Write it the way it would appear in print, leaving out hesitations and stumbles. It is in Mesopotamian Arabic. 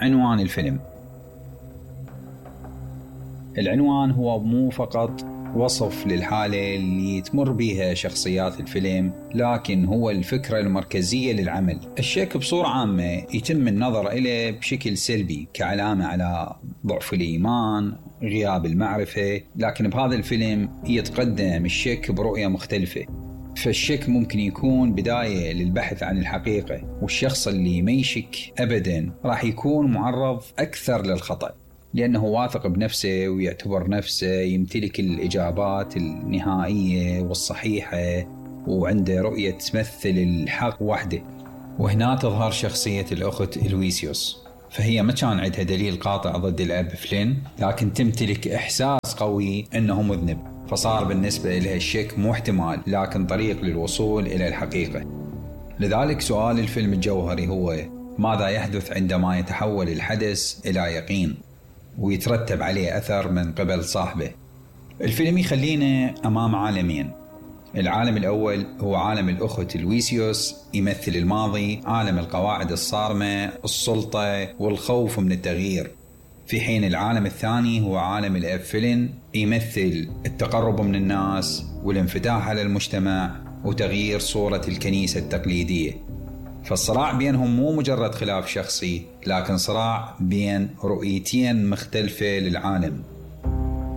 عنوان الفيلم. العنوان هو مو فقط وصف للحالة اللي تمر بيها شخصيات الفيلم، لكن هو الفكرة المركزية للعمل. الشك بصورة عامة يتم النظر إليه بشكل سلبي كعلامة على ضعف الإيمان، غياب المعرفة، لكن بهذا الفيلم يتقدم الشك برؤية مختلفة. فالشك ممكن يكون بداية للبحث عن الحقيقة، والشخص اللي ما يشك أبداً راح يكون معرض أكثر للخطأ، لأنه واثق بنفسه ويعتبر نفسه يمتلك الإجابات النهائية والصحيحة، وعنده رؤية تمثل الحق وحده. وهنا تظهر شخصية الأخت إلويسيوس، فهي ما كان عندها دليل قاطع ضد الأب فلين، لكن تمتلك إحساس قوي أنه مذنب، فصار بالنسبة لها الشك مو احتمال لكن طريق للوصول إلى الحقيقة. لذلك سؤال الفيلم الجوهري هو: ماذا يحدث عندما يتحول الحدث إلى يقين ويترتب عليه أثر من قبل صاحبه؟ الفيلم يخلينا أمام عالمين. العالم الأول هو عالم الأخت إلويسيوس، يمثل الماضي، عالم القواعد الصارمة، السلطة والخوف من التغيير. في حين العالم الثاني هو عالم الأب فلين، يمثل التقرب من الناس والانفتاح على المجتمع وتغيير صورة الكنيسة التقليدية. فالصراع بينهم مو مجرد خلاف شخصي، لكن صراع بين رؤيتين مختلفة للعالم.